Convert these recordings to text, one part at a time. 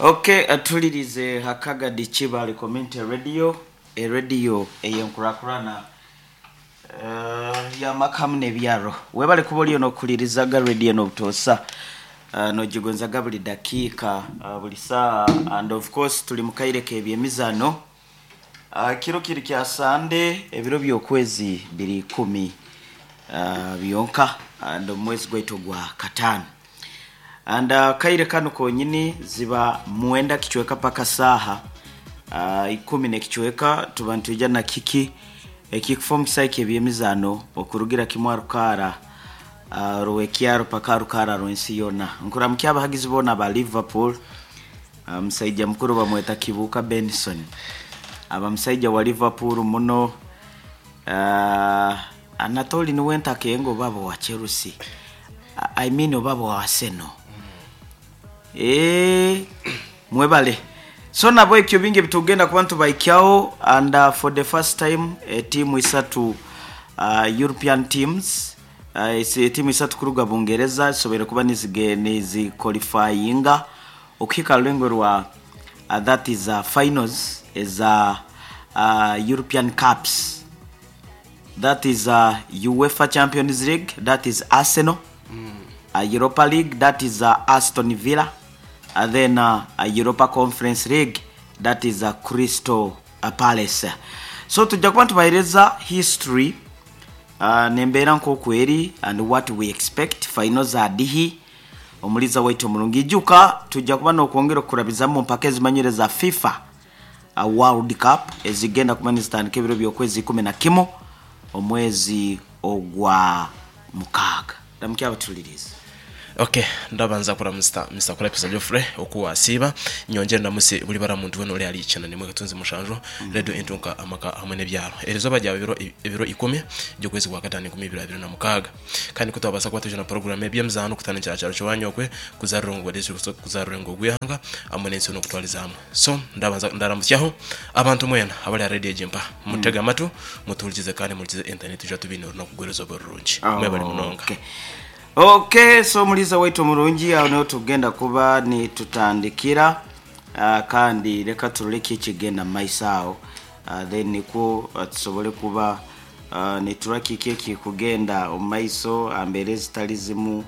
Okay, atulirize Hakagadi Kibale Community Radio, eradio ey'enkurakurana y'amaka hamu n'ebyaro. Webale kuba oliyo n'okuhulirizaga radio n'obutoosa, nogigonzaga buli dakiika, buli saaha, and of course tuli mu kaire k'ebyemizaano. Kiro kiri kya Sande, ebiro by'okwezi biri ikumi byonka and omu mwezi gwaitu ogwa kataano. And akaire kanu konyini ziba mwenda kicweka paka saaha ikumi n'ekicweka, tuba nitwija na kiki ekikufa omu kisaayi ky'ebyemizaano okurugira kimu aha rukaara rw'ekyaro paka aha rukaara rw'ensi yoona. Nkuramukya abahagizi boona aba Liverpool, omusaija mukuru bamweta Kibuuka Benson, aba musaija wa Liverpool muno. Anatoli niwe ntakenga oba aba wa Chelsea, I mean oba aba wa Arsenal. Mwebale. So nabo ekyo bingi ebitugenda kuba nitubahikyaho, and for the first time etiimu isatu, European teams, etiimu isatu kuruga Bungereza zisoboire kuba niziqualifyinga okuhika aha rulengo rwa that is finals eza European Cups. That is UEFA Champions League, that is Arsenal, Europa League, that is Aston Villa, then Europa Conference League, that is Crystal Palace. So tujja kuba nitubahereza history n'embeera nk'oku eri and what we expect, final za dihi, omuliiza waitu omurungi. Ijuka tujja kuba n'okwongera okukurabizamu mu mpaka ezimanyire eza FIFA World Cup ezigenda kuba nizitandika ebiro by'okwezi ikumi na kimu omwezi ogwa mukaaga. Ramukya abatuliriize. Ok, ndabanza kuramusta Mister Kulapisa Geoffrey oku wasiiba, nyongyere ndamuse buri bara muntu wena ori ahari ikyenda n'emwe katunzi mushanju Radio Entunka amaka hamwe n'ebyaro. Erizooba ryaba ebiro ebiro ikumi by'okwezi kwa kataano enkumi ibiri abiri na mukaaga. Kandi ku twabaasa kuba twija na puroguraamu y'eby'emizaano kutandikira aha kyaro ky'owaanyokwe kuza Rurengo District kuza Rurengo rw'eihanga hamwe n'ensi yoona okutwariza hamwe. So ndabanza ndaramutsyaho abantu mwena abari aha radio egi mpa. Mutege amatu, mutuhurikize kandi muhurikize internet twija tubaine orunaku rw'erizooba rurungi. Mwebare munonga. Okay. Okay, so omuliisa waitu omurungi, aho niho tugenda kuba nitutandikira, kandi leka turole ki ekigenda mu maiso aho, then nikwo tusobole kuba niturora kiki ekikugenda omu maiso aha mbeera ezitali zimu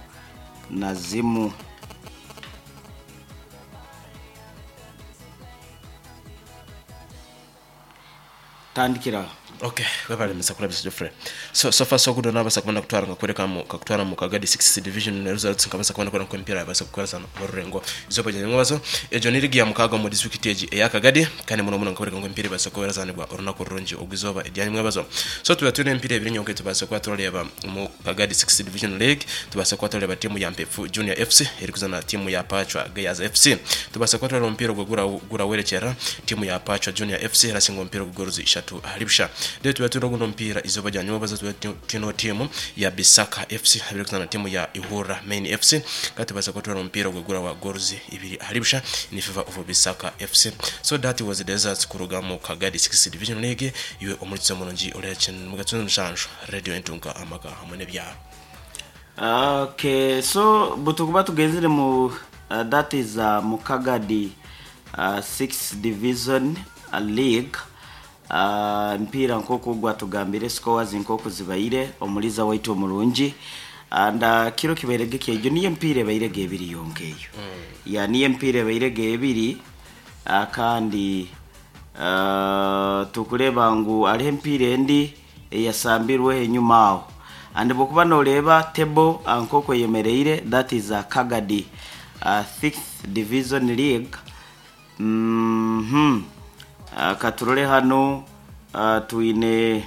na zimu. Tandikira aho. Ok, webale Mister Kulabisa Geoffrey. So, so far so good nabasa kuba nakutwara nkakwereka mu kakutwara mu Kagadi 6th division ne results nkabasa kuba nakwereka nku emipiira yabasa kukwasa mu rurengo izooba rya nyamwebazo. Egyo ni ligi ya mukaaga omu district egi eya Kagadi kandi muno muno nkakwereka ngu emipiira ebasa kuba erazanibwa orunaku rurungi ogw'izooba erya nyamwebazo. So tuba twine emipiira ebiri nyonka etubaasa kuba turareeba omu Kagadi 6th division league. Tubaasa kuba twareeba tiimu ya Mpefu Junior FC erikuzaana na tiimu ya Pachwa Gayaaza FC. Tubaasa kuba twareeba omupiira ogwo gurawerekyerera, tiimu ya Pachwa Junior FC erasinga omupiira ogwo goals ishatu ahari busha. Then tubaire twine ogundi omupiira eizooba rya nyomwebazo tubaire twineho tiimu ya Bisaka FC ahu erikuzaana na tiimu ya Ihurra Main FC. Kandi tubaasa kuba twareeba omupiira ogwo gurawa goals ibiri ahari busha in favour of Bisaka FC. So that was the results kuruga omu Kagadi 6th Division League. Iwe omuhurikiza omurungi ori aha Kintu Mushanju Radio Entunga Amaka hamwe n'ebyaro. Okay, so bwetukuba tugenzire mu that is mu Kagadi 6th Division League, emipiira nk'oku gwatugambire scores nk'oku zibaire, omuliiza waitu omurungi, and kiro kibairege ki egyo niyo emipiira ebairege ebiri yonka eyo. Yeah, niyo emipiira ebairege ebiri, kandi tukureeba ngu hariho emipiira endi eyasambirweho enyuma aho. And bwokuba noreeba table nk'oku eyemereire, that is Kagadi 6th Division League, katurore hanu, twine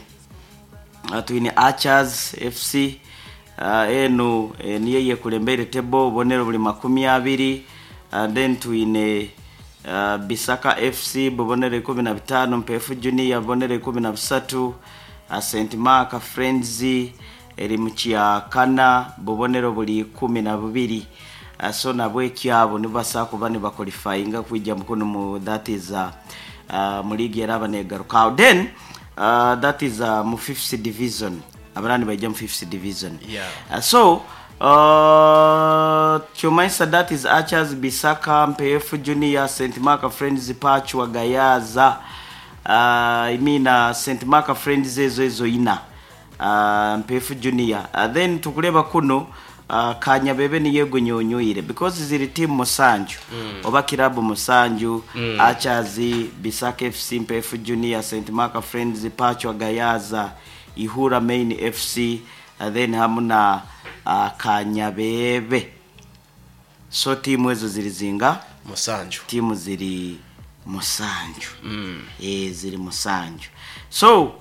twine Archers FC, enu niyo eyekurembeire table, obubonero buri makumi abiri, then twine Bisaka FC bubonero ikumi na bitaano, Mpeefu Junior bubonero ikumi na busatu, St Mark Friends eri mu kya kana bubonero buri ikumi na bubiri. So nabwekyo abo nibabaasa kuba nibaqualifyinga kwija kunu mu that is mu league eraba negaruka aho. Then that is mu fifth division, abaraba nibaija mu fifth division. Yeah. So Kyomanyisa that is Archers, Bisaka, Mpeefu Junior, St Mark Friends, Pachwa, Gayaza, I mean, St Mark Friends ezo ina, Mpeefu Junior, then tukuleba kuno Kanyabebe niyo egunyunyuire because ziri timu musanju oba kirabu musanju: Archers, Bisaka FC, Mpeefu Junior, St Mark Friends, Pachwa, Gayaza, Ihura Main FC, then hamu na Kanyabebe. So timu ezo ziri zinga? 7. Timu ziri 7. Ziri 7. So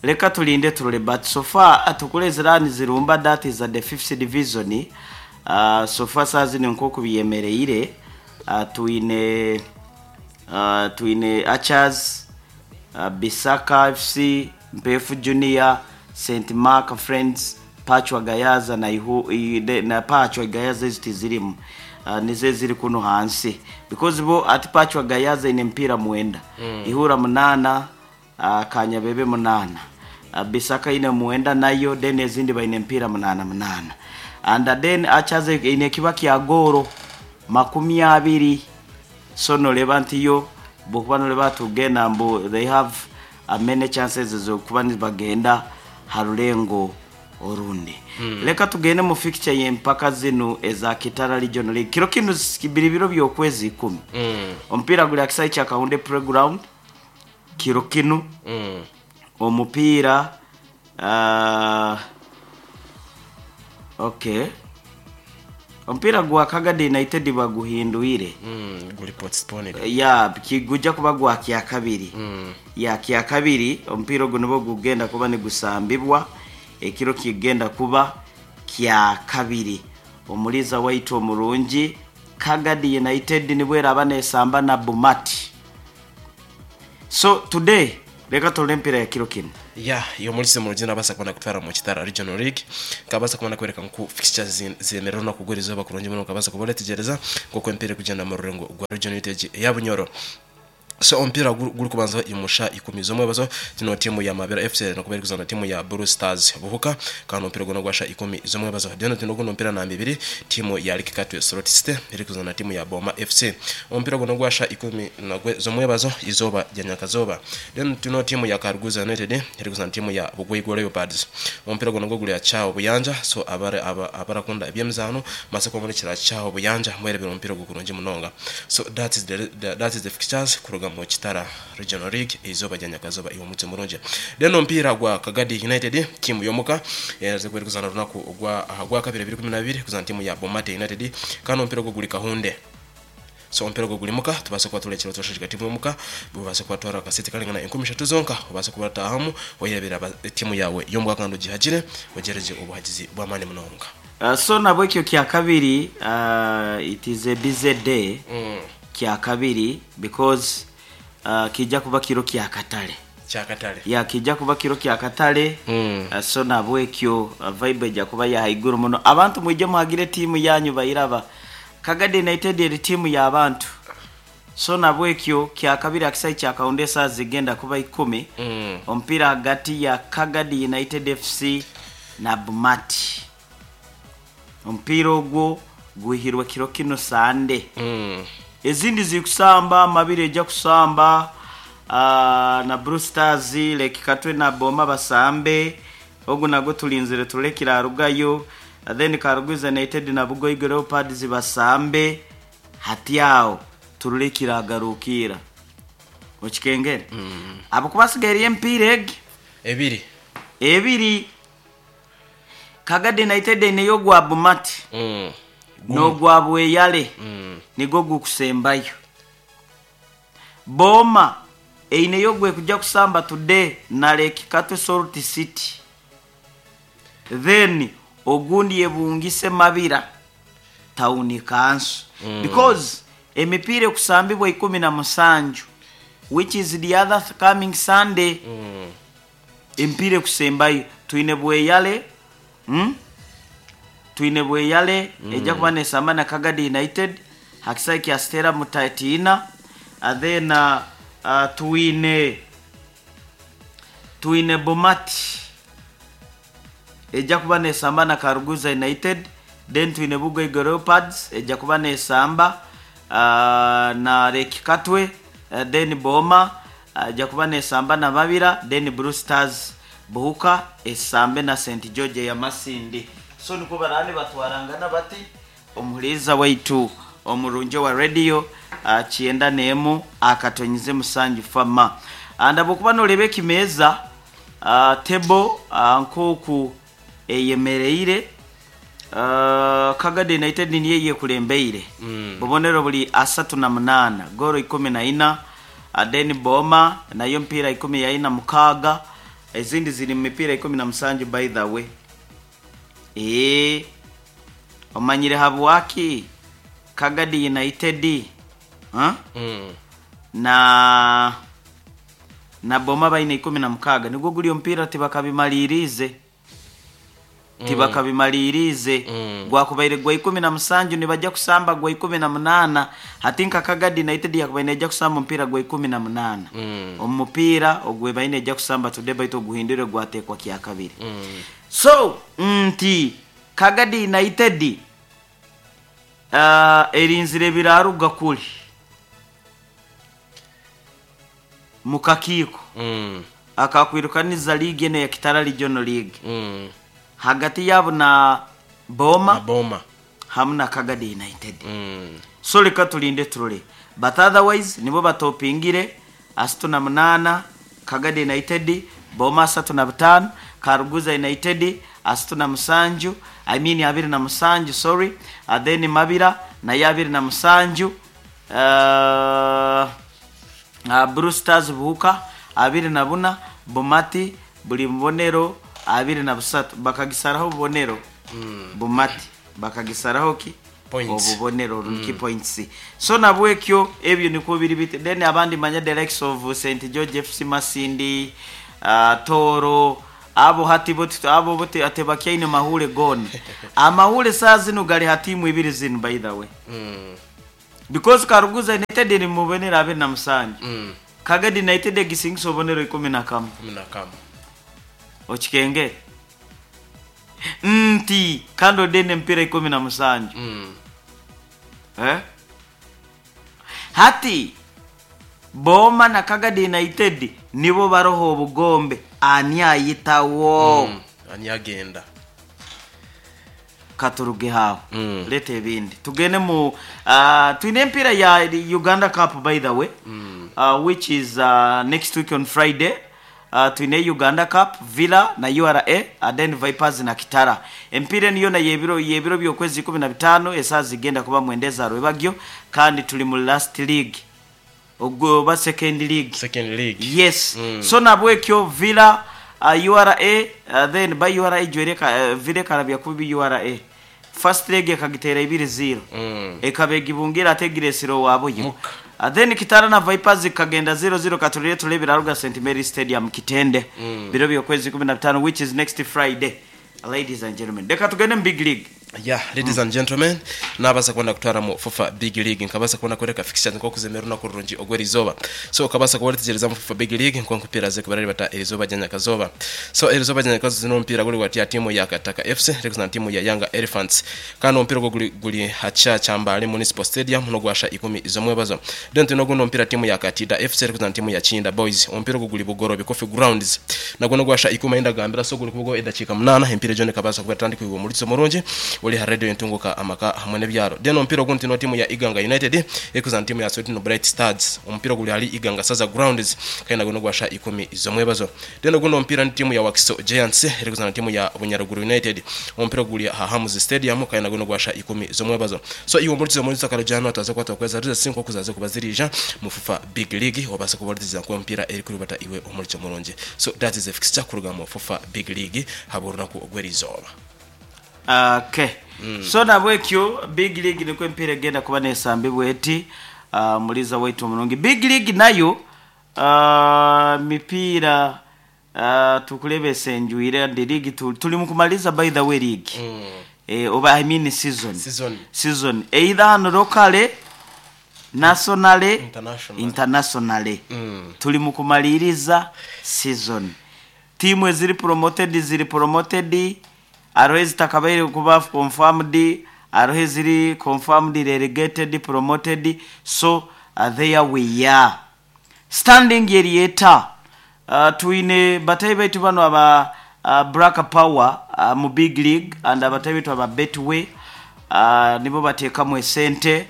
leka tulinde tulole, but so far atukule zirani zirumba, that is at the fifth division. So far saa zino nkoku biyemereire, twine Archers, Bisaka FC, Mpefu Junior, St Mark Friends, Pachwa, Gayaza na Ihu, na Pachwa Gayaza ezo tizirimu, nizo ziri kuno hansi because bo ati Pachwa Gayaza ine mpira 9, Ihura 8, Kanyabebe 8, Bisaka ine 9 nayo, then ezindi baine mpira 8 8, and then Archers ine kiba kya goro 20. So noleba nti yo bwokuba noleba tugenda mbu they have many chances zokuba nibagenda harulengo orundi. Leka tugende mu fixture y'empaka zino eza Kitara Regional League. Kiro kino biri biro by'okwezi 10. Omupiira guli akisaayi kya Kahunde Playground kiro kino. Omupiira, okay, omupiira gwa Kagadi United baguhinduire. Guli postponed. Ya, gujja kuba gwa kyakabiri. Ya kyakabiri omupiira ogwo nibwo gugenda kuba nigusambibwa ekiro kigenda kuba kyakabiri. Omuliza waitu omurungi, Kagadi United nibweraba nesamba na Bumati. So today leka tole empira ya kiro kino. Ya iyo muri mu rugendo abasa kubona kutwara mu Kitara Regional League, kabasa kubona kwereka nku fixtures zemerera no kugura izuba kurungi muno, kabasa kubona tegereza kuko empira kugenda mu rurengo rwa Regional United ya Bunyoro. So ompira guri kubanza imusha 10 z'omwebazo, tino timu ya Mabera FC no kubera kuzana timu ya Blue Stars Buhuka, kandi ompira gono gwasha 10 z'omwebazo. Deno tino gono mpira na 2, timu ya Likikatwe Slot City iri kuzana timu ya Boma FC, ompira gono gwasha 10 na z'omwebazo izoba rya nyakazoba. Deno tino timu ya Karuguza United iri kuzana timu ya Bugwigwa Leopards, ompira gono goguli ya Chao Buyanja. So abare aba abarakunda ebyemizano masako muri Chao Buyanja mwerebera ompira gukurungi munonga. So that is the fixtures kuruga mu Kitara Regional League izoba rya nyakazoba iwo mutse murungi. Then ompira gwa Kagadi United, timu yomuka yaze kweri kuzana runaku gwa kabiri 2012 kuzana timu ya Bomate United, kandi ompira gwo guli Kahunde. So ompira gwo guli muka, tubase kuba tulekera twashashika timu yomuka, bubase kuba twara akasete kalingana 30 zonka, ubase kuba tahamu oyirebera timu yawe yomuka kandi ugihagire wegereje ubuhagizi bw'amani munonga. So nabwo ekyo kyakabiri, it is a busy day. Kyakabiri because kijja kuba kiro kyakatale. Kyakatale. Ya, kijja kuba kiro kyakatale. So nabwekyo vibe ejja kuba yahaiguru muno. Abantu mwije muhagire tiimu yanyu bayiraba. Kagadi United eri tiimu y'abantu. So nabwekyo kyakabiri akisayi kyakawunde saa zigenda kuba 10. Omupiira hagati ya Kagadi United FC na Bumati, omupiira ogwo guhirwe kiro kino Sande. Ezindi zikusamba, Mabiri ejja kusamba na Blue Stars, Lake na Boma basambe, ogu nagwo tulinzire tulekira arugayo. Then Karuguza United na Bugoigo Leopards basambe, hati awo tulekira agarukira okikengere. Abo kubasigaire empiira egi 2. 2. Kagadi United neyo gwa Bumati n'ogwa Bweyale. Nigwo gukusembayo. Boma eineyo gwe kujja kusamba today na Lake Katwe Salt City, then ogundi yebungise Mabira Town Council, because emipiira ekusambibwa 17, which is the other coming Sunday. Emipiira ekusembayo twine Bweyale, Twine Bweyale ejja kuba nesamba na Kagadi United hakisayi kya Stera Mutatina. Then twine Bomati ejja kuba nesamba na Karuguza United. Then twine Bugaiga Leopards ejja kuba nesamba na Lake Katwe, then Boma ejja kuba nesamba na Babira, then Blue Stars Buhuka esambe na St George ya Masindi. So niko barani batwarangana bati omuhuriza waitu omurungi wa radio 91.7 fama. Andabo kuba noreba ekimeza table nkoku eyemereire, Kagadi United niyo yekulembeire bubonero buli 38, goro 14. Then Boma nayo mpira 46, ezindi ziri mu mipira 17. By the way, omanyire habwaki Kagadi United, huh? Na Boma baine 16, nigwo guli omupiira tibakabimalirize, tibakabimalirize. Gwakubaire gwa 17, nibajja kusamba gwa 18. Hati nka Kagadi United yakubaire nejja kusamba omupiira gwa 18, omupiira ogwe baine ejja kusamba today, baitu oguhindure gwatekwa kyakabiri. So nti Kagadi United erinzire biraruga kuli mukakiiko akakwirukaniza liigi eno ya Kitara Regional League hagati yabo na Boma Na Boma hamu na Kagadi United. So reka tulinde turole, but otherwise nibo batopingire 38, Kagadi United, Boma 35, Karuguza United 37, I mean 27, sorry, and then Mabira nayo 27, Blue Stars Buhuka 24, Bumati buli mubonero 23, bakagisaraho obubonero. Bumati bakagisaraho ki? Points. Obubonero ruki points. So nabwekyo ebyo niko biri bite. Then abandi manya the likes of St George FC Masindi, Toro, abo hati boti abo bote ate bakyaine mahure gone amahule saa zino gali hatimu ibiri zino, by the way, because Karuguza United ni mubonero 27, Kagadi United egisingisa obubonero 11. 11. Okikenge nti kandi odene empira 17. Eh? Hati Boma na Kagadi United nibo baroho obugombe, ani ayitawo? Ani agenda? Katuruge hawo. Leta ebindi tugende mu twine empira ya Uganda Cup, by the way, which is next week on Friday. Twine Uganda Cup, Villa na URA, then Vipers na Kitara. Empira niyo na yebiro byokwezi 15, esaa zigenda kuba 9 rwebagyo, kandi tuli mu last league ogwo oba second league. Second league. Yes. So nabwekyo Villa, URA, then by URA ijwereka Villa ekarabya kubi URA first leg ekagitera 2-0, ekaba egibungira ate egiresire wabuyo. Muka. Then Kitara na Vipers kagenda 0-0. Katulire tulebera Ruga St Mary Stadium Kitende, biro byokwezi 15, which is next Friday. Ladies and gentlemen, reka tugende mu big league. Yeah, ladies and gentlemen, nabasa kubona kutwara mu FUFA Big League, nkabasa kubona kwereka fixtures nko kuzemera urunaku rurungi ogwera izoba. So ukabasa kuba ritegereza mu FUFA Big League nko nkupira ze kubarari bata erizoba rya nyakazoba. So erizoba rya nyakazoba zino mpira guri gwati ya timu ya Kataka FC rekuza na timu ya Yanga Elephants, kandi omupiira ogwo guri hacha Kyambale Municipal Stadium no gwasha 10 izomwebazo. Then tuno guno mpira timu ya Katida FC rekuza na timu ya Chinda Boys, omupiira ogwo guri Bugorobe Coffee Grounds, nagwo no gwasha 10 indagambira. So guri kubugo edakika 8, empira jone kabasa kuba tandika iwe muri murungi uri ha radio entunguka amaka hamwe n'ebyaro. Then omupiira ogundi no timu ya Iganga United ekuza na timu ya Sweden Bright Stars, omupiira guri hali Iganga Saza Grounds, kandi nagwo no gwasha 10 izomwebazo. Then ogundi omupiira ni timu ya Wakiso Giants ekuza na timu ya Bunyaruguru United, omupiira guri ha Hamuzi Stadium, kandi nagwo no gwasha 10 izomwebazo. So iwe muri zo muri sakaro jano ataza kwata kweza riza sinko kuzaze kubazirija mu FUFA Big League, wabasa kubaririza ko omupiira eri kuri bata iwe omuri murungi. So that is a fixture kuruga mu FUFA Big League haburunaku ogwerizoba. Okay. So nabwekyo big league niko empira egenda kuba nesambibwa eti, muliza waitu omurungi. Big league nayo mipiira tukulebesa enjwire ndi league tuli mukumaliza, by the way, league, oba I mean season. Season. Season either hano locally, nationally, International. Internationally. Tuli mukumaliriza season, timu eziri promoted ziri promoted. Hariho ezitakabaire kuba confirmed, hariho eziri confirmed, relegated, promoted. So there we are. Standing eri eta? Twine batahi baitu banu aba Black Power mu Big League and abatahi baitu aba Betway nibo bateekamu esente.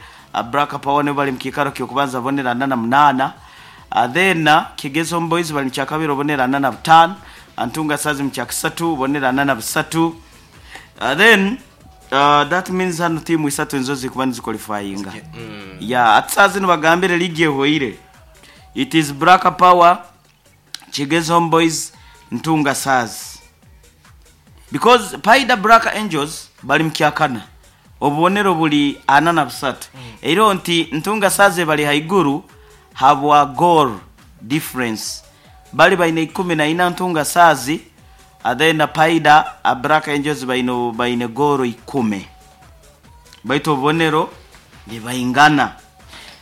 Black Power nibo bali mu kiikaro ky'okubanza obubonero 48. Then Kigezi Homeboys bali mu kyakabiri obubonero 45. Ntunga Stars mu kyakasatu obubonero 43. Then that means hanu tiimu isatu nizo zirikuba niziqualifyinga. Yeah, ati saaha zinu bagambire liigi ehweire. It is Black Power, Kigezi Homeboys, Ntunga Stars. Because Paidha Black Angels bali mu kyakana obubonero buri 43. Eriho nti Ntunga Stars ebari haiguru habwa goal difference. Bali baine 14 Ntunga Stars, then Paidha Black Angels baine goal 10. Baitu obubonero nibaingana.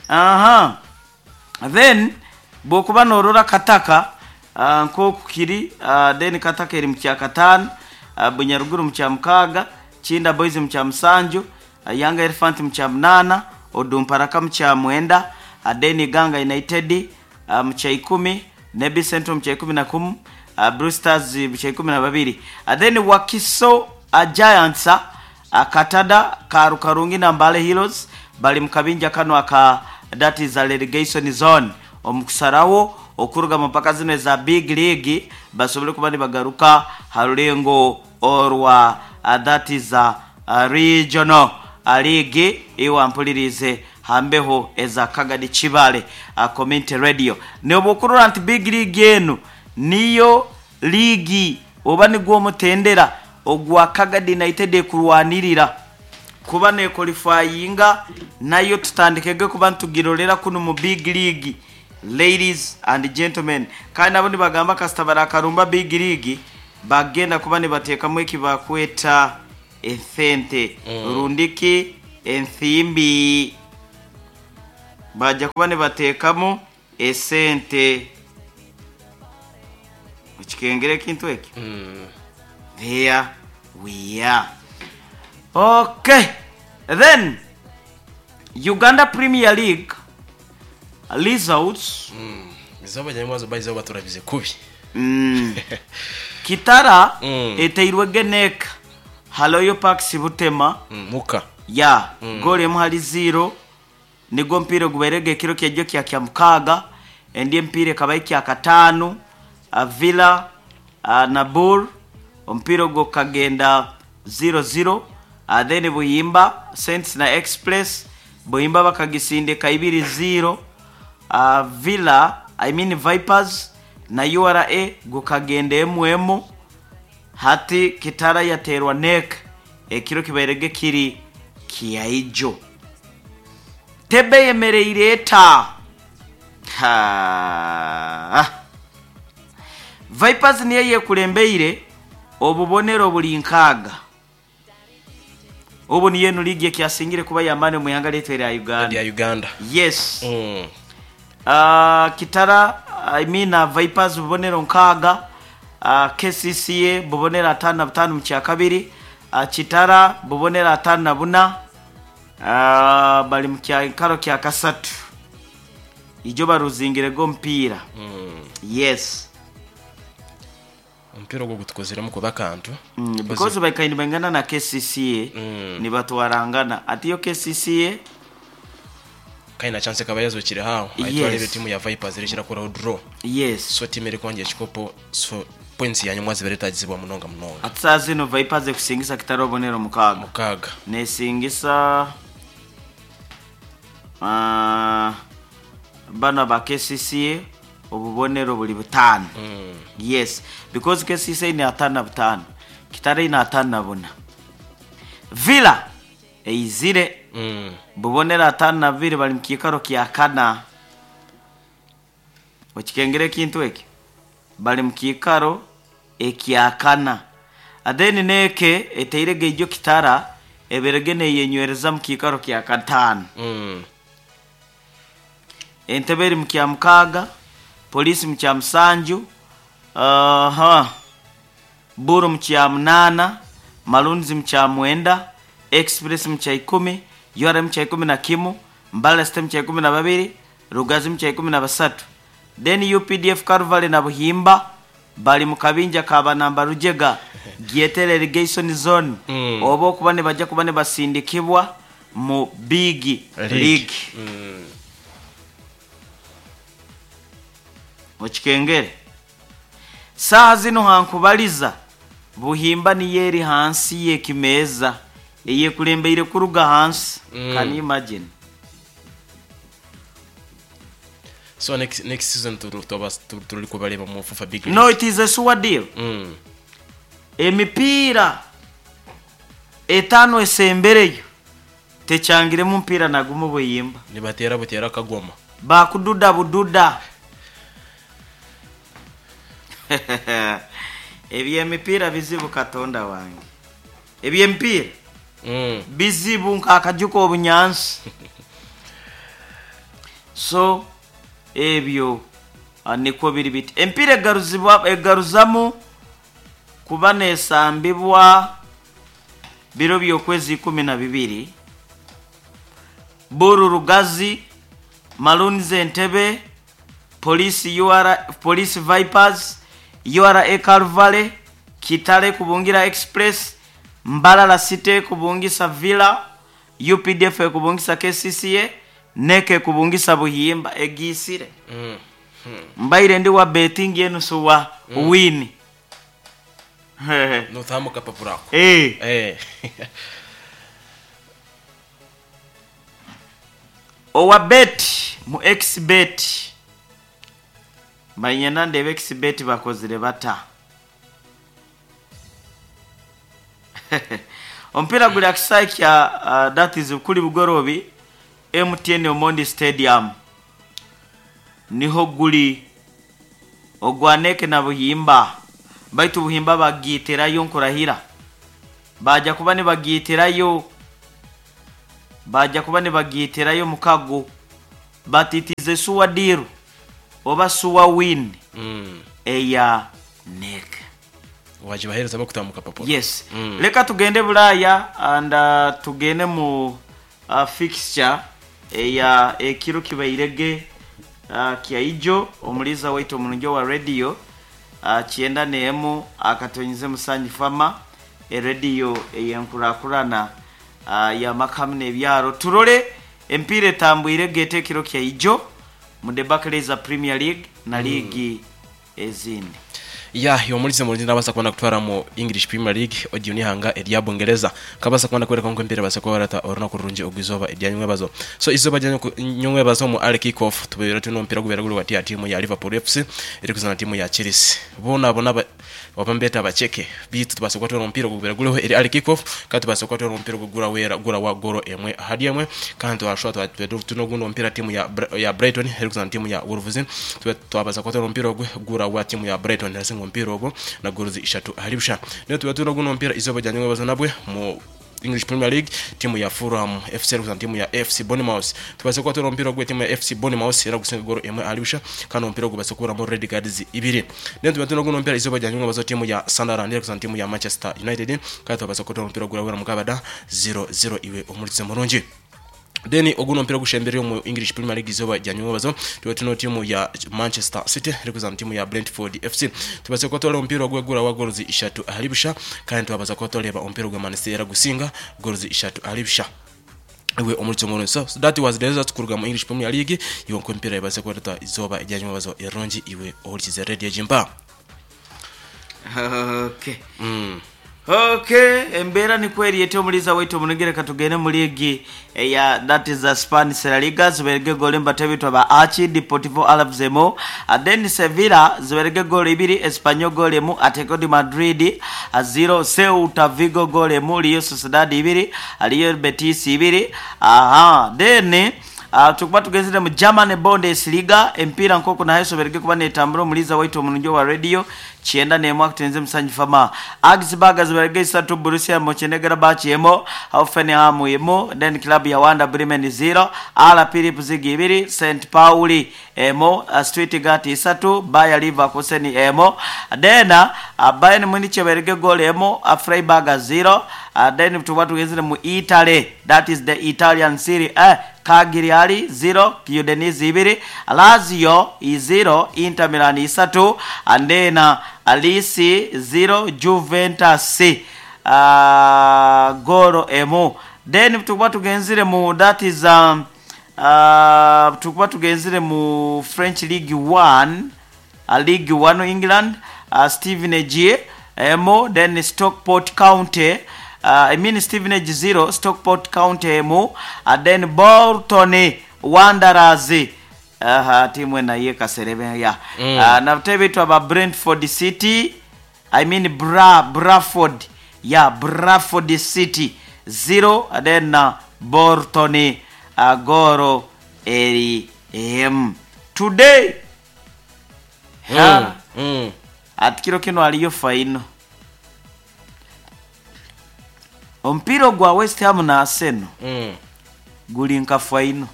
Aha. Then bw'okuba noorora Kataka nk'oku kiri, then Kataka eri mu kyakataano, Bunyaruguru mu kyamukaaga, Kinda Boys mu kyamusanju, Young Elephant mu kyamunaana, Odumparaka mu kyamwenda, then Iganga United mu kyaikumi, Nebbi Central mu kyaikumi na kumu, Blue Stars mu kyaikumi na babiri. Then Wakiso Giants, Katada, Karukarungi na Mbale Heroes bali mu kabinja kanu aka that is a relegation zone. Omu kusarawo okuruga mu mpaka zinu eza Big League basobole kuba nibagaruka ha rulengo orwa that is a regional league. Iwe ampulirize hambeho eza Kagadi Kibale Community Radio. Nobwokurora nti Big League enu niyo liigi oba nigwo omutendera ogwa Kagadi United ekurwanirira kuba nequalifyinga, nayo tutandikege kuba nitugirorera kunu mu Big League, ladies and gentlemen. Kandi nabo nibagamba kasita barakarumba Big League bagenda kuba nibateekamu eki bakweta esente rundiki ensimbi, bajja kuba nibateekamu esente. Okikengera ekintu ekyo? There we are. Okay, then Uganda Premier League results. Izooba rya bayizeho baturabize kubi. Kitara eteirwe Geneka Haloyo Parks Butema. Muka. Ya goal 1-0 nigwo mpiira ogubairege ekiro kyejjo kya kyamukaaga. Endi empiira ekaba ekya kataano, Villa Nabur, omupiira ogwo gukagenda 0-0. Then Buyimba Saints na Express, Buyimba bakagisindika 2-0. Villa, I mean Vipers na URA gukagenda 1-1. Hati Kitara yaterwa nek ekiro kibairege kiri kyaijo. Tebe yemereire eta. Ha. Vipers niyo yekulembeire obubonero buli 6. Obu niyo enu liigi ekyasingire kuba yamani omu ihanga lyaitu erya Uganda. Erya Uganda. Yes. Kitara, I mean Vipers bubonero 6, KCCA bubonero 55 mu kyakabiri, Kitara bubonero 54, bali mu kikaro kya kasatu. Ijo baruzingirego omupiira. Yes. Omupiira ogwo gutukoziremu kuba akantu. Because baikaire nibaingana na KCCA, nibatwarangana. Ati yo KCCA Kandi na chance ekaba yazokire haho. Yes. Aitwarire timu ya Vipers erekira kuraho draw. Yes. So timu erikwongera ekikopo, so points yanyuma zibere tagizibwa munonga munonga. Ati saaha zinu Vipers ekusingisa Kitara obubonero 6. 6. Nesingisa bano aba KCCA obubonero buli 5. Yes, because KCCA ni 55, Kitara ine 54. Villa eizire bubonero 52 bali mu kiikaro kya kana. Okikengera ekintu ekyo? Bali mu kiikaro ekya kana. Then neke eteirege ijo Kitara eberege neyenywereza mu kiikaro kya kataano. Entebe eri mu kya mukaaga, Poliisi mu kya musanju, Buru mu kya munaana, Maroons mu kyamwenda, Express mu kyaikumi, URA mu kyaikumi na kimu, Mbarara City mu kyaikumi na babiri, Rugazi mu kyaikumi na basatu. Then UPDF Calvary na Buhimba bali mu kabinja ka banamba rujega Gyetere relegation zone oba okuba nibaja kuba nibasindikibwa mu big League. league. Okikengere saaha zino hankubaliza Buhimba niyo eri hansi y'ekimeeza eyekulembeire kuruga hansi. Can you imagine? So next season turi kubareba mu FUFA Big League. No, it is a sure deal. Emipiira etaano esembereyo tekyangiremu mupiira nagumu Buhimba. Nibatera butera kagoma. Bakududa bududa. Ebyemipiira bizibu, Katonda wange, ebyemipiira bizibu nk'akajuka obunyansi. So ebyo nikwo biri biti. Empiira egaruzibwa egaruzamu kuba nesambibwa biro by'okwezi 12. Buru Rugazi, Maroons Entebbe, Police UR, Police Vipers, URA Calvary, Kitale kubungira Express, Mbarara City kubungisa Villa, UPDF kubungisa KCCA, Neke kubungisa Buhimba egiisire. Mbaire ndi wa betting enusu wa win. Nothamu kapapura ako. Eh. Eh. Owa bet mu xbet manyena ndebe xbet bakozire bata. Omupiira guli akisaayi kya that is kuli bugorobi, MTN Omondi Stadium niho guli ogwa Neke na Buhimba. Baitu Buhimba bagiitirayo, nkurahira baja kuba nibagiitirayo, baja kuba nibagiitirayo mukago, but it is a sure deal oba sure win eya NEC. Wajibahereza bakutamu kapapura. Yes. Leka tugende Bulaya and tugende mu fixture eya ekiro kibairege kyaijo. Omuliza waitu omulungi wa radio 91.7 Musanyi Fama, erediyo eyenkurakurana yamakamu n'ebyaro. Turole empiira etambwire gete ekiro kyaijo mu the Barclays Premier League na liigi ezindi. Ya yomulize mulindi nabasa kubona kutwara mu English Premier League odiyo nihanga erya Bungereza kabasa kubona kwereka nko empira basa kubarata orunaku rurungi ogwizoba erya nywebazo. So izoba rya nywebazo mu early kick off tubeera tuno omupiira gubeera guri wati ya timu ya Liverpool FC eri kuzana timu ya Chelsea. Bona bona wabambeta bacheke bitu tubasa kuba omupiira gubeera guriho eri early kick off, kandi tubasa kuba omupiira gugura wera gura wa goro emwe ahari emwe. Kandi twashobora tuno guno omupiira timu ya Brighton eri kuzana timu ya Wolves. Twabaza kuba omupiira ogwe gura wa timu ya Brighton yasinga omupiira ogwo na gorozi ishatu ahari busha. Niyo tuba tuno guno omupiira izoba rya nywebazo nabwe mu English Premier League, timu ya Fulham FC eri kuzana timu ya FC Bournemouth. Tubase kuba omupiira ogwe timu ya FC Bournemouth era gusinga goro emwe ahari busha, kandi omupiira ogwo base kuburamo red cards ibiri. Niyo tuba tuno guno omupiira izoba rya nywebazo, timu ya Sunderland eri kuzana timu ya Manchester United, kandi tubase kuba omupiira ogwo mukabada 0-0. Iwe omulize murungi, then oguno mpira gushembere mu English Premier League izoba rya nyubazo tuba tuno timu ya Manchester City iri kuzana timu ya Brentford FC. Tubaze ko tore umupira gwegura wa gorozi ishatu ahari busha, kandi tubaza ko toreba umupira gwa Man City era gusinga gorozi ishatu ahari busha. Iwe omulitso ngono. So that was the result kuruga mu English Premier League. Iwe nko mpira ibaze ko izoba rya nyubazo erongi. Iwe ohurikize radio jimba. Okay. Okay, embeera nikweri ete omuliza waitu omunegere. Katugende mu liigi eya that is a Spanish La Liga. Ziberege gole mbatebitwa ba Achi Deportivo Alaves emu, then Sevilla ziberege gole ibiri, Espanyol gole emu, Atletico de Madrid 0, Ceuta Vigo gole emu, Real Sociedad ibiri, Real Betis ibiri. Aha, then tukuba tugenzire mu German Bundesliga. Empiira nkoko nayo soberege kuba netambura. Omuliza waitu omulungi wa radio. 91 akutenze musanju fama. Augsburg zibarege 3, Borussia Mönchengladbach 1, Hoffenheim 1, then club ya Werder Bremen 0, RB Leipzig 2, St Pauli 1, Stuttgart 3, Bayer Leverkusen 1, then Bayern Munich barege goal 1, Freiburg 0, then tuba tugezere mu Italy, that is the Italian Serie A, Cagliari 0, Udinese 2, Lazio 0, Inter Milan 3, and then Alice 0, Juventus goro 1. Then tukuba tugenzire mu, that is tukuba tugenzire mu French League 1, League 1 England, Stevenage 1, then Stockport County, I mean Stevenage 0, Stockport County 1, then Bolton Wanderers, timu naye kaserebe ya nabutebe twaba Brentford City, I mean Bradford, ya Bradford City 0, then Bolton goro eri m today. Atikiro kino aliyo faino omupiira gwa West Ham na Arsenal guli nka faino.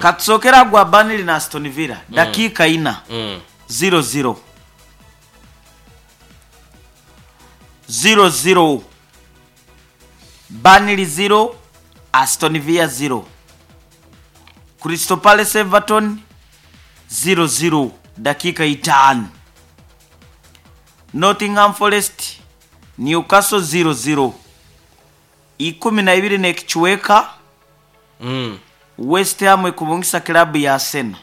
Katusokera gwa Burnley na Aston Villa dakika 4 0-0 0-0, Burnley 0, Aston Villa 0, Crystal Palace Everton 0-0 dakika 5, Nottingham Forest Newcastle 0-0, 12 nekichweka West Ham ekubungisa club ya Arsenal.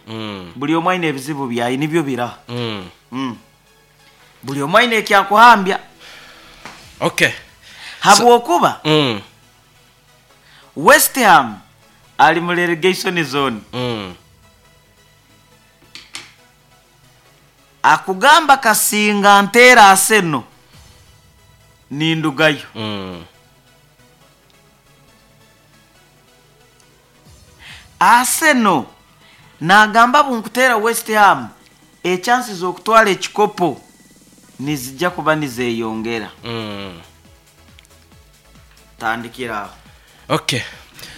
Buli omwe aine ebizibu byaye nibyo bira. Buli omwe aine ekyakuhambya. Okay. Habwokuba West Ham ali mu relegation zone. Akugamba kasinga ntera Arsenal nindugayo. Arsenal nagamba bunkutera West Ham echances z'okutwala ekikopo nizijja kuba nizeyongera. Tandikira. Okay.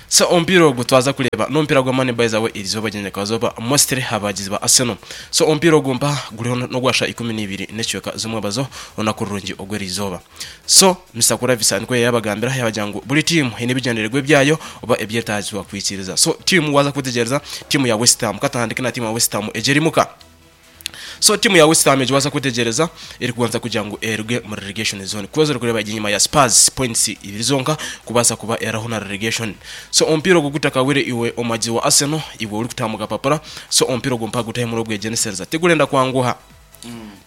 So ompira ogwo twaza kuleba n'omupiira gwa Mani by the way erizoba gyenyakazoba mostly abagizi ba Arsenal. So omupiira ogwo mpa guliho n'ogwasha 12 n'ekiweka z'omwebazo olunaku rurungi ogw'erizoba. So Mr. Kuravisa nikwe yabagambira yabagira ngu buli tiimu eine ebigendererwa ebyayo oba ebyetaagibwa kwikiriza. So tiimu waza kutegereza tiimu ya West Ham katandike na tiimu ya West Ham egyerimuka. So timu ya West Ham ejiwaza kutegereza eri kubanza kugira ngu eruge mu relegation zone kubaza kureba inyuma ya Spurs points ibiri zonka kubasa kuba eraho na relegation. So ompira ogwo gutakawire iwe omaji wa Arsenal iwe uri kutamuka papara. So ompira ogwo mpaga gutahe muri ogwegenesereza tigurenda kwanguha.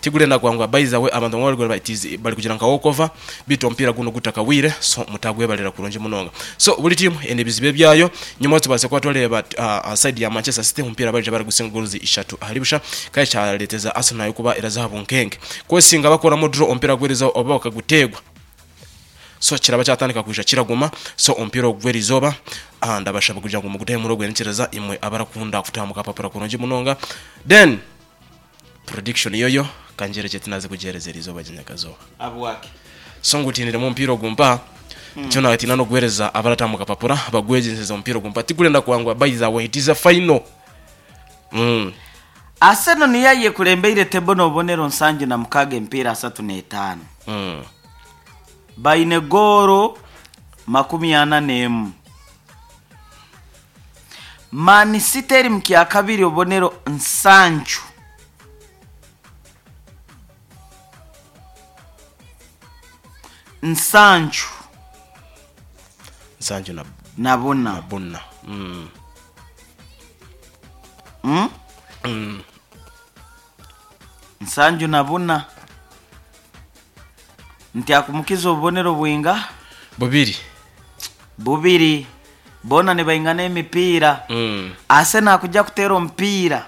Tigurenda kwanguha by the way abantu bari kureba it is bari kugira nka walkover bito ompira guno gutakawire. So mutagwebalira kurungi munonga. So buli timu ende bizibe byayo nyuma tubase kwa toleba side ya Manchester City ompira bari bari gusinga goals 3 aharibusha kai cyaleteza Arsenal kuba irazahabu nkenge kwesinga bakora mu draw ompira gwereza oba bakagutegwa. So kiraba cyatandika kuja kiraguma. So ompira ogwerizoba ndabashaba kugira ngo mugutahe muri ogwenekereza imwe abarakunda kutamuka papara kurungi munonga. Then prediction yoyo kanjereje tinaze kugerezera izoba gyenyakazoba abwake. So ngutinire mu mpira ogumpa cyo nawe tina no guhereza abaratamuka papura bagwegezeza omupiira ogumpa tigurenda kwangwa by the way it is a final. Arsenal niyo yekulembeire tebo n'obubonero 76 emipiira 35. Baine gooro 41. Man City eri mu kyakabiri obubonero 7. 7 Nsanju na buna. Buna. 74 nti akumukiza obubonero bwinga bubiri bubiri bona ne baingana emipiira. Arsenal akujja kuteera omupiira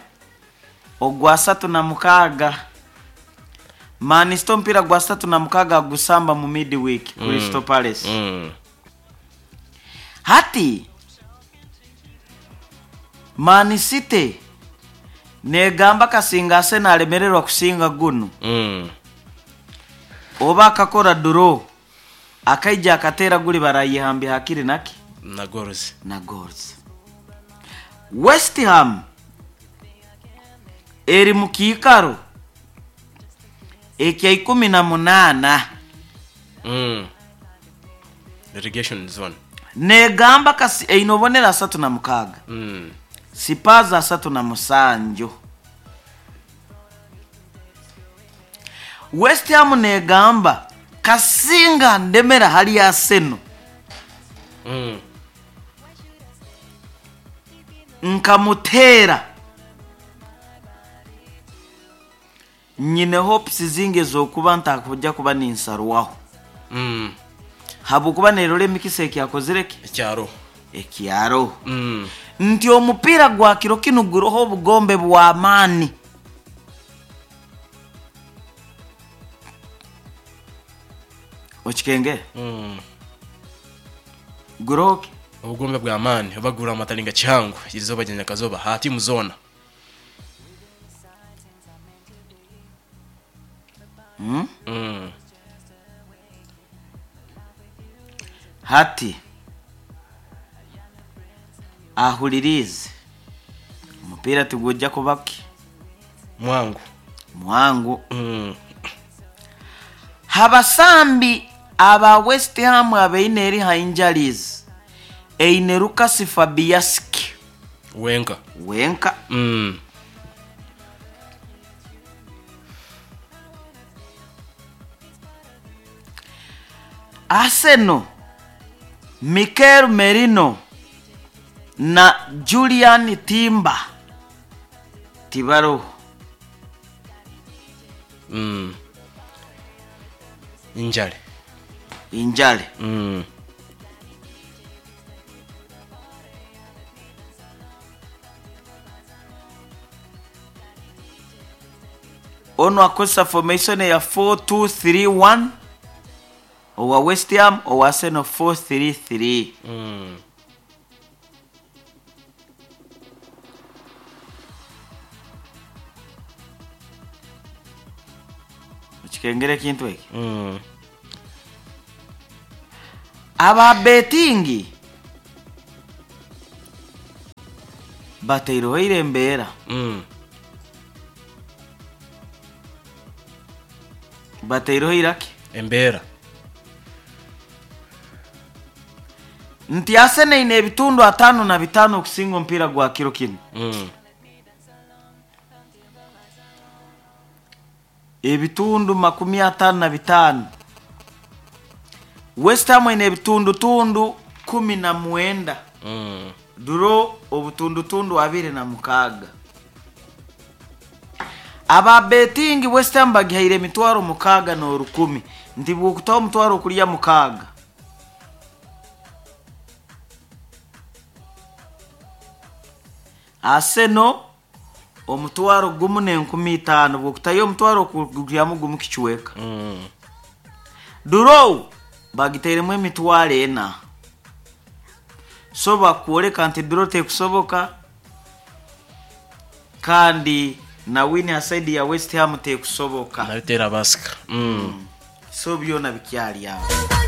ogwa 36. Man City omupiira gwa 36 agusamba mu midweek Crystal Palace. Hati Man City Negamba kasinga Arsenal alemererwa kusinga guno, oba akakora draw, akaija akatera guli barayihambya hakiri naki na goals. Na goals. West Ham eri mu kiikaro ekya 18. Relegation zone. Negamba kasi eine obonero 36, Spurs 37. West Ham negamba kasinga ndemera hali Arsenal, nkamutera nyine hopes zinge zokuba ntakujja kuba ninsarwaho, habwokuba nerora emikisa ekyakozireki ekyaro ekyaro. Nti omupiira gwa kiro kinu guroho obugombe bw'amaani. Okikengere? Guroho ki? Obugombe bw'amaani obagura amatalinga kihango izoba rya nyakazoba ha timu zona. Hati ahulirize, omupiira tigujja kubaki mwangu. Mwangu. Habasambi aba West Ham abeine eri ha injuries, eine Lucas Fabianski wenka. Wenka. Arsenal, Mikel Merino na Julian Timber tibaroho. Injale. Injale. Ono akozesa formation ya 4-2-3-1 owa West Ham, owa Arsenal 4-3-3. Okikengera ekintu eki? Aba betingi bataireho embeera. Bataireho iraki embeera. Nti Arsenal eine ebitundu 55 okusinga omupiira gwa kiro kinu. Ebitundu 55. West Ham eine ebitundutundu 19. Duro obutundutundu 26. Aba betingi West Ham bagihaire emitwaro 6,100. Nti bwokutaho omutwaro okulya 6. Arsenal omutwaro 1,500, bwokutayo omutwaro okulyamu gumu kichweka. Duro bagitairemu emitwaro 4. So bakwoleka nti duro tekusoboka, kandi na win aside ya West Ham tekusoboka. Nabitera basika. So byona bikyali awo.